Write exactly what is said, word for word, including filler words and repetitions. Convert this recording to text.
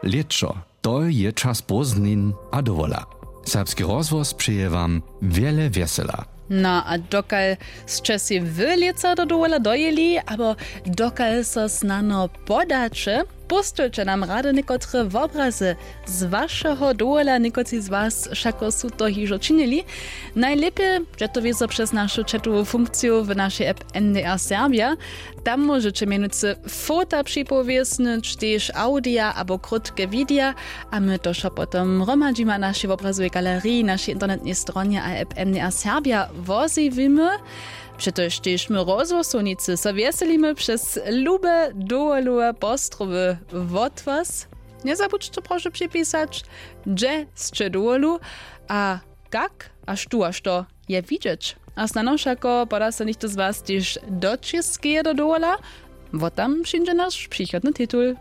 Lěćo, to je čas prózdnin a dowola. Serbski rozhłos přeje wam wjele wjesela. No a dokal sće sej wy lětsa do dowola dojěli abo dokal so snano podaće, póstujće nam rady někotre wobrazy z wašeho dowola. Někotři z was wšako su to hižo činili. Najlěpje dźe to wězo přez našu chatowu funkciju w našej app ndr serbja. Tam móžeće mjenujcy fota připowěsnyć, tež awdija abo krótke widija, a my to wšo potom hromadźimy na našej wobrazowej galeriji, našej internetnej stronje a app mdr serbja wozjewimy. Přetož tež my rozhłosownicy so wjeselimy přez lube dowolowe postrowy wot was. Njezabudźće prošu připisać, hdźe sće dowolu a kak a štó a što je widźeć. A snano wšako poda so něchtó z was tež do Čěskeje do dowola. Wotam přińdźe naš přichodny titul.